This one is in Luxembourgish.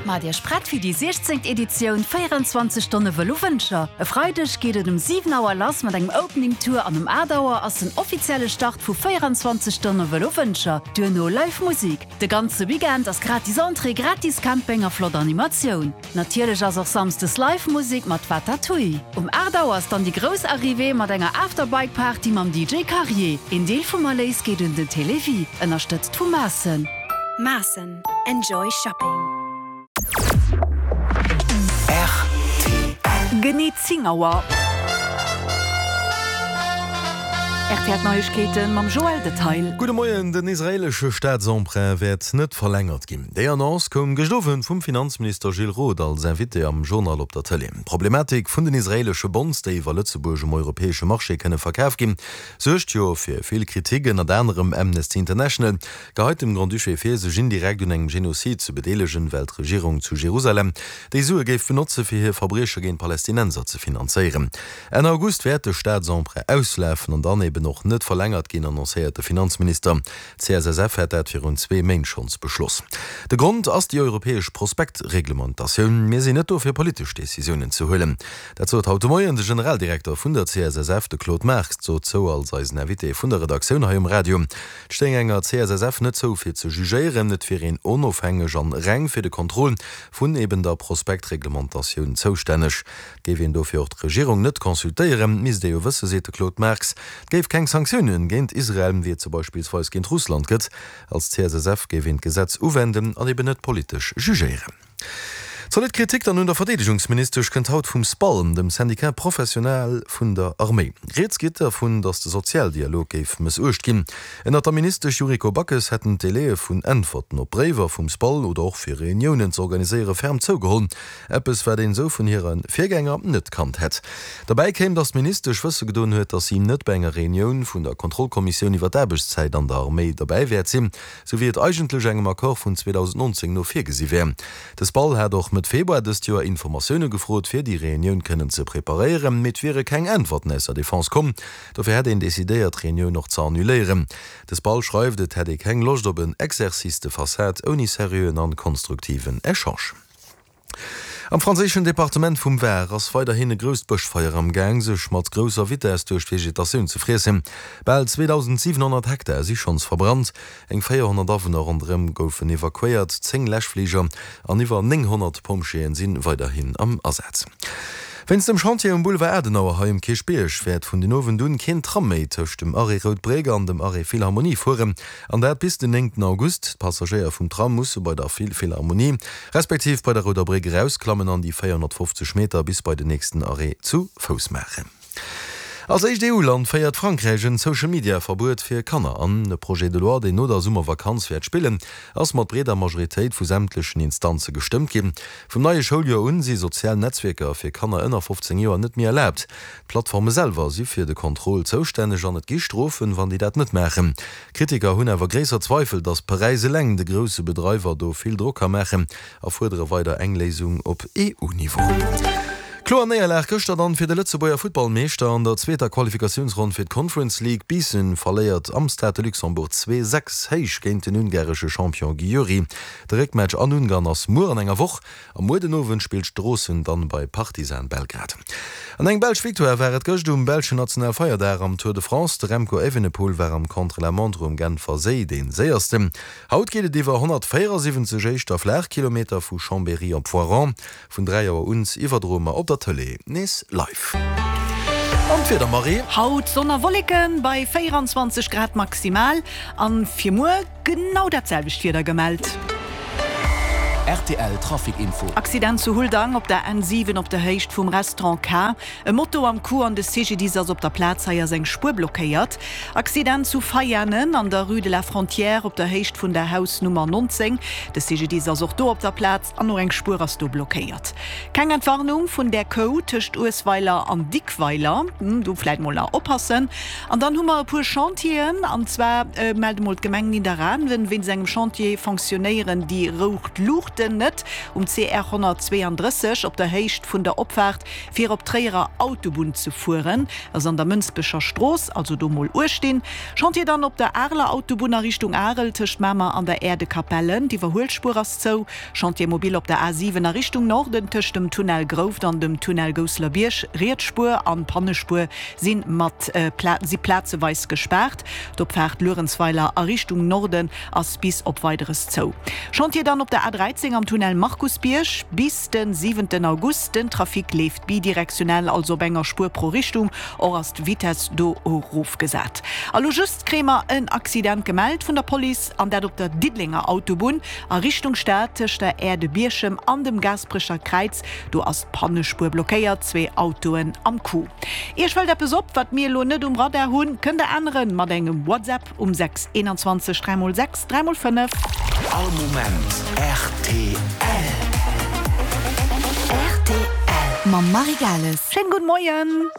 Maacht Iech prett fir déi 16. Editioun 24 Stonne Vëlo Wëncher. E Freideg geet et um 7 Auer lass mat engem Opening Tour an um 8 Auer ass den offizielle Start vu 24 Stonne Vëlo Wëncher. Duerno Live Musik. De ganze Weekend ass gratis Entrée, gratis Camping a flott Animatioun. Natierlech ass och Samsdes Live Musik mat Watatouille. Um 8 Auer ass dann déi grouss Arrivée mat enger After Bike Party mam DJ Carrier. Een Deel vum Erléis geet un den Télévie, ënnerstëtzt vu Maassen. Maassen, enjoy shopping. Rtl. Genee 10 Auer. Rtl Neiegkeeten mam Joël Detail. Gudde Moien, Den israeelesche Staatsemprunt wäert net verlängert ginn. Déi Annonce koum gëscht Owend vum Finanzminister Gilles Roth als Invité am Journal op der Tëlee. D'Problematik vun den israeelesche Bonds, déi iwwer Lëtzebuerg um europäesche Marché kënne verkaf ginn, suergt jo fir vill Kritik. Ënnert anerem Amnesty International geheit dem Grand-Duché vir, sech indirekt un engem Genozid ze bedeelegen, well d'Regierung zu Jerusalem déi Sue géif benotze fir hir Verbrieche géint Palästinenser ze finanzéieren. Enn August wäert de Staatsemprunt auslafen an dann eben och net verlängert ginn, annoncéiert de Finanzminister. D'CSSF hätt dat virun zwee Méint schonns beschloss. De Grond ass déi europäesch Prospektreglementatioun. Mir sinn net do fir politesch Decisiounen ze huelen. Dat sot haut de Moien de Generaldirekter vun der CSSF, de Claude Marx, dozou als eisen Invité vun der Redaktioun hei um Radio. Et stéing enger CSSF net zou fir ze jugéieren, et wier een onofhängeg an reng fir de Contrôle vun eben der Prospektreglementatioun zoustänneg. Géif een dofir och d'Regierung net consultéieren, misst ee jo wësse, seet de Claude Marx, et géif keng Sanktiounen géint Israel, wéi et se beispillsweis géint Russland gëtt. Als CSSF géif een d'Gesetz uwenden an eben net politesch jugéieren. Zolidd Kritik dann un der Verdeedegungsministesch kënnt haut vum SPAL, dem Syndicat professionnel vun der Arméi. Rieds geet dervun, datt de Sozialdialog géif mëssuecht ginn. Ënnert der Ministesch Yuriko Backes hätten d'Délaië vun Äntwerten op Bréiwer vum SPAL oder och fir Reuniounen z'organiséiere ferm zougeholl. Eppes, wat een esou vun hire Virgänger net kannt hätt. Derbäi kéim, datt d'Ministesch wësse gedoen huet, datt si net bei enger Reunioun vun der Kontrollkommissioun iwwer d'Aarbechtszäit an der Arméi derbäi wäert sinn, sou wéi et eigentlech engem Accord vun 2019 no virgesi wär. De SPAL hat och Mëtt Februar dëst Joer Informatioune gefrot, fir déi Reunioun kënnen ze preparéieren, mee et wiere keng Äntwerten aus der Defense komm. Dofir hätt een decidéiert, d'Reunioun och ze annuléieren. De SPAL schreift, et hätt ee keng Loscht op en Exercice de façade ouni seriöen an konstruktiven Echange. Am franséischen Departement vum Var ass weiderhin e grousst Bëschfeier am Gaang, sech mat grousser Vitess duerch d'Vegetatioun ze friessen. Bal 2.700 Hektar si schonns verbrannt, eng 400 Awunner ronderëm goufen evakuéiert, 10 Läschfliger an iwwer 900 Pompjeeën si weiderhin am Asaz. Wéinst dem Chantier um Boulevard Adenauer hei um Kierchbierg wäert vun den Owend un keen Tram méi tëscht dem Arrêt Rout Bréck an dem Arrêt Philharmonie fueren. An dat bis den néngten August. D'Passagéier vum Tram musse bei der Philharmonie, respektiv bei der Rouder Bréck erausklammen an déi 450 Meter bis bei den nächsten Arrêt zu Fouss maachen. Als éischt EU-Land féiert Frankräich en Social-Media-Verbuet fir Kanner an. E Projet de loi, deen no der Summervakanz wäert spillen, ass mat breeder Majoritéit vu sämtlechen Instanze gestëmmt ginn. Vum neie Schouljoer un si sozial Netzwierker fir Kanner ënner 15 Joer net méi erlaabt. D'Plattforme selwer si fir de Contrôle zoustänneg an et gi Strofen, wann déi dat net maachen. Kritiker hunn awer gréisser Zweifel, datt Paräis eleng de grousse Bedreiwer do vill Drock ka maachen a fuerdere weider eng Léisung op EU-Niveau. Kloer Néierlag gëschter dann fir de Lëtzebuerger Futtballmeeschter an der zweeter Qualifikatiounsronn fir d'Conference League. Biissen verléiert am Stade de Luxembourg 2, 6 héich géint den ungaresche Champion Győri. De Réckmatch an Ungarn ass muer an enger Woch. A muer den Owend spillt Stroossen dann bei Partizan Belgrad. An eng belsch Victoire war et gëscht um belschen Nationalfeierdag am Tour de France. De Remco Evenepoel war am Contre-la-montre um Genfer Séi dee séiersten. Haut geet et iwwer 174 éischter Flaachkilometer vu Chambéry op Voiron. Vun 3 Auer un iwwerdroe mer op der Tëlee nees live. An d'Wieder, Marie? Haut Sonn a Wolleken bei 24 Grad maximal an fir muer Genau dat selwecht Wieder gemellt. Rtl Trafic Info. Accident zu Huldang op der N7 op der Héicht vum Restaurant K. E Moto am Coup an de CGDIS ass op der Plaz. Hei ass eng Spuer blockéiert. Accident zu Veianen an der Rue de la Frontière op der Héicht vun der Hausnummer 19. De CGDIS ass och do op der Plaz an och eng Spuer ass do blockéiert. Keng Entwarnung vun där Kou tëscht Uesweiler an Dickweiler. Do vläit mol nach oppassen. An dann hu mer e puer Chantieren, an zwar mellt emol d'Gemeng Nidderaanwen, wéinst engem Chantier fonctionnéieren déi roucht Luuchten. Luuchten net um CR 132 op der Héicht vun der Opfaart fir op d'Tréierer Autobunn ze fueren, ass an der Mënsbecher Strooss, also do mol uechtinn. Chantier dann op der Areler Autobunn a Richtung Arel tëscht Mamer an der Aire de Capellen, d'Iwwerhuelspuer ass zou. Chantier mobile op der A7 a Richtung Norden tëscht dem Tunnel Grouft an dem Tunnel Gousselerbierg, Riets Spuer an Pannespuer si mat si plazeweis gespaart. D'Opfaart Luerenzweiler a Richtung Norden ass bis op Weideres zou. Chantier dann op der A13 am Tunnel Markusbierg bis de siwenten August. Den Trafic leeft bidirektionell, also op enger Spuer pro Richtung. Och ass d'Vitess do erofgesat. A lo just kréie mer en Accident gemellt vun der Police, an dat op der Diddelenger Autobunn a Richtung Stad tëscht der Aire de Bierchem an dem Gaasperecher Kräiz. Do ass d'Pannespuer blockéiert, zwee Autoen am Coup. Iech fält eppes op, wat mir elo net um Radar hunn? Kënnt der änneren mat engem WhatsApp um 6 21 3 x 6 3 x 5. All Moment rtl. Rtl mam Marie Gales. Schéin gudde Moien.